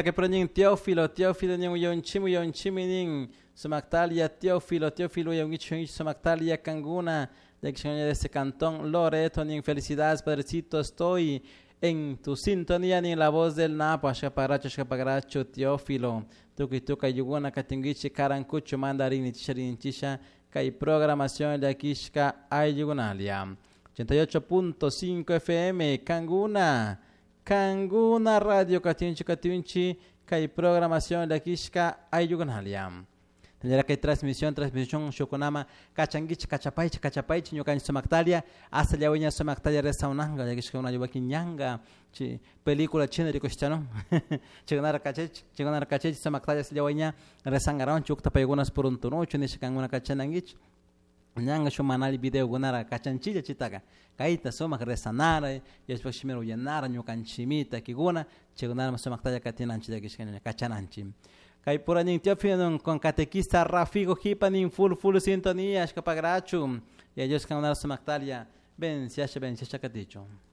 Que pronin Teófilo, Teófilo nin uyonchimi, uyonchimi nin sumactalia Teófilo, Teófilo uyongichu sumactalia canguna de ese cantón Loreto nin felicidades, padrecito, estoy en tu sintonía nin la voz del Napo, ashkapagracho, ashkapagracho, Teófilo, tukuy tuka yuguna katinguichi karankuchu mandarini chisharin kay programación llakishka ayllugunalia 88.5 FM Canguna Canguna Radio katinchi katinchi kay programación llakishka ayllugunalia. Tendrá que transmisión, transmisión shukunama kachanguichi kachapaichi kachapaichi ñukanchik sumactalia hasta llawiña sumactalia resaunanga llakishka una yuwaki ñanga chi película china rikushchano chikunara kachech chikunara kachech sumactalia llawiña resangaron chukta paykunas puruntunuchu nisha kankuna kachananguichi ñanga shuk manali videokunara kachanchilla chitaka kayta sumak rezanara Diospuk shimira uyanara ñukanchimita takikuna chaykunara sumaktalla katinanchik llakishka kachananchik. Kay pura nin Teófilo con catequista Rafigo Jipa nin full full sintonía ashkapagrachu y ellos kankunara sumaktalia venciasha venciasha katichun.